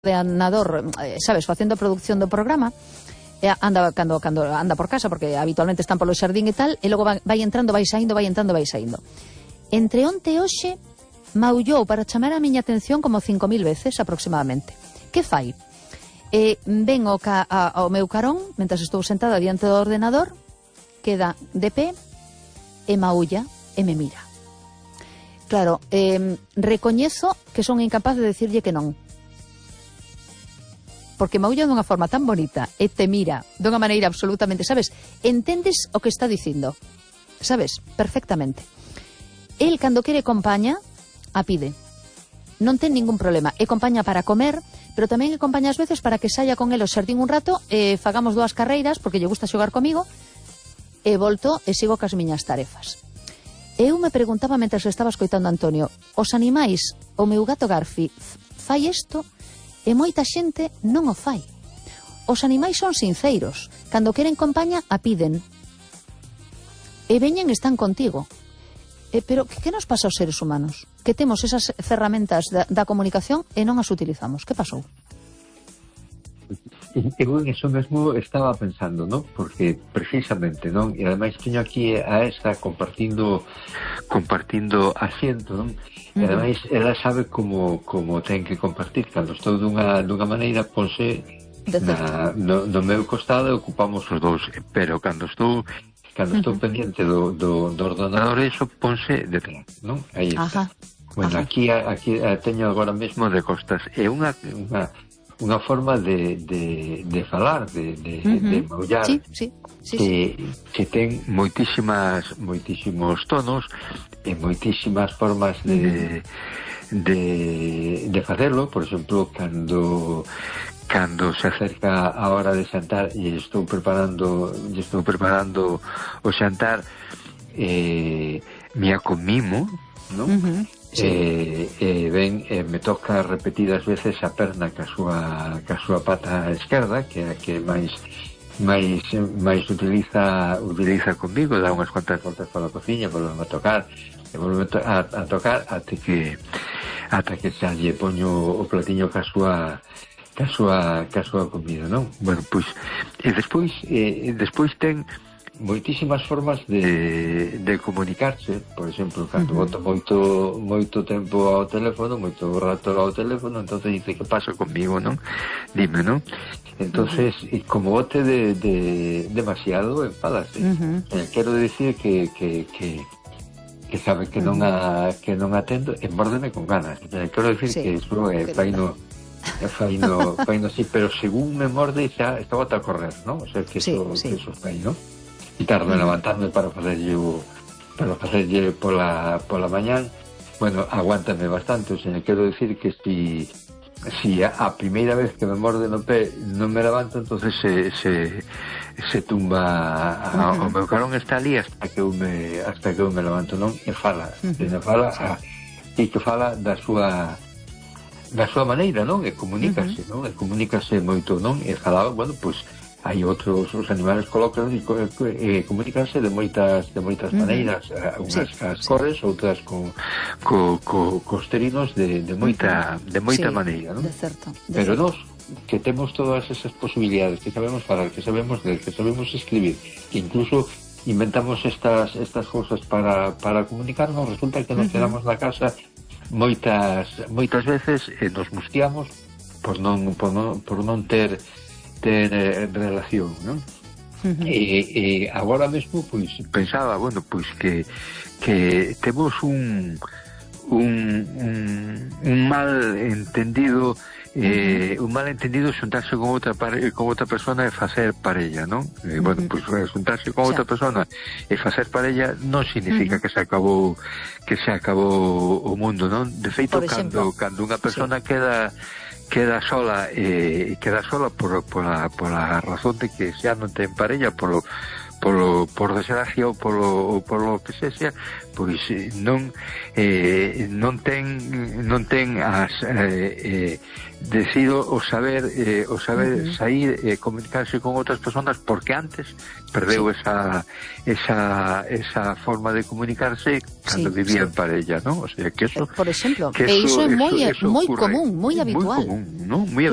ordenador, sabes, facendo a produción do programa, anda cando anda por casa, porque habitualmente están polo xardín e tal, e logo vai entrando, vai saindo. Entre onte e hoxe maullou para chamar a miña atención como 5.000 veces aproximadamente. Que fai? Ven ao meu carón, mentre estou sentada diante do ordenador, queda de pé e maulla e me mira. Claro, recoñezo que son incapaz de decirlle que non, porque maulla dunha forma tan bonita e te mira dunha maneira absolutamente, sabes, entendes o que está dicindo, sabes, perfectamente. El, cando quere compaña, a pide, non ten ningún problema, e compaña para comer, pero tamén e compaña ás veces para que saia con el ao xardín un rato e fagamos 2 carreiras, porque lle gusta xogar comigo, e volto e sigo cas miñas tarefas. Eu me preguntaba mentre estaba escoitando a Antonio, os animais, o meu gato Garfi fai isto? E moita xente non o fai. Os animais son sinceiros. Cando queren compaña, a piden. E veñen e están contigo. Pero que nos pasa aos seres humanos? Que temos esas ferramentas da comunicación e non as utilizamos. Que pasou? Eu en eso mesmo estaba pensando, ¿no? Porque precisamente, ¿no? E ademais teño aquí a esta compartindo asiento, ¿no? E ademais ela sabe como ten que compartir. Cando estou dunha maneira, ponse no meu costado e ocupamos os dous, pero cando estou pendiente do ordenador, eso ponse detrás, ¿no? Aí está. Bueno, aquí teño agora mesmo de costas. É unha forma de falar, de maullar, sí. que ten moitísimos tonos e moitísimas formas de facelo. Por exemplo, cando se acerca a hora de xantar e estou preparando o xantar, me acomimo, non? Me toca repetidas veces a perna ca súa pata esquerda, que é a que máis utiliza comigo, dá unhas cuantas voltas pola cociña, volve a tocar ata que xa lle poño o platiño ca súa comida, non? Bueno, pois despois ten moitísimas formas de comunicarse. Por exemplo, cando boto moito tempo ao teléfono, moito rato ao teléfono, entonces dice, que pasa conmigo, non? Dime, non? Entonces, como bote demasiado, enfádase. Quero dicir que sabe que non atendo e mórdeme con ganas. Quero dicir que iso faino sí, pero según me morde xa está bota a correr, non? O sea, que iso fai, non? E tardo en levantarme para facerlle pola mañán. Bueno, aguántame bastante. O sea, quero dicir que si a primeira vez que me morde no pé non me levanto, entonces se tumba o meu carón está ali hasta que eu me levanto, non? E fala e que fala da súa maneira, non? E comunícase, non? E comunícase moito, non? E fala, bueno, pois hai outros, os animales colócanse e comunícanse de moitas maneiras, unhas as corres, outras cos terinos de moita maneira, non? Pero nós, que temos todas esas posibilidades, que sabemos falar, que sabemos ler, que sabemos escribir, que incluso inventamos estas cousas para comunicarnos, resulta que nos quedamos na casa moitas veces e nos mustiamos por non ter relación, non? E agora mesmo, pois, pensaba, bueno, pois que temos un mal entendido xuntarse con outra persona e facer parella, non? Bueno, pois xuntarse con outra persona e facer parella non significa que se acabou o mundo, non? De feito, cando unha persona queda sola pola razón de que xa non ten parella, por desgracia ou polo que sexa, pois non ten as decido o saber sair e comunicarse con outras persoas, porque antes perdeu esa forma de comunicarse cando vivía en parella, ¿no? O sea, que eso... Por exemplo, que iso é moi ocurre, común, moi habitual. Moi común, ¿no? Muy habitual.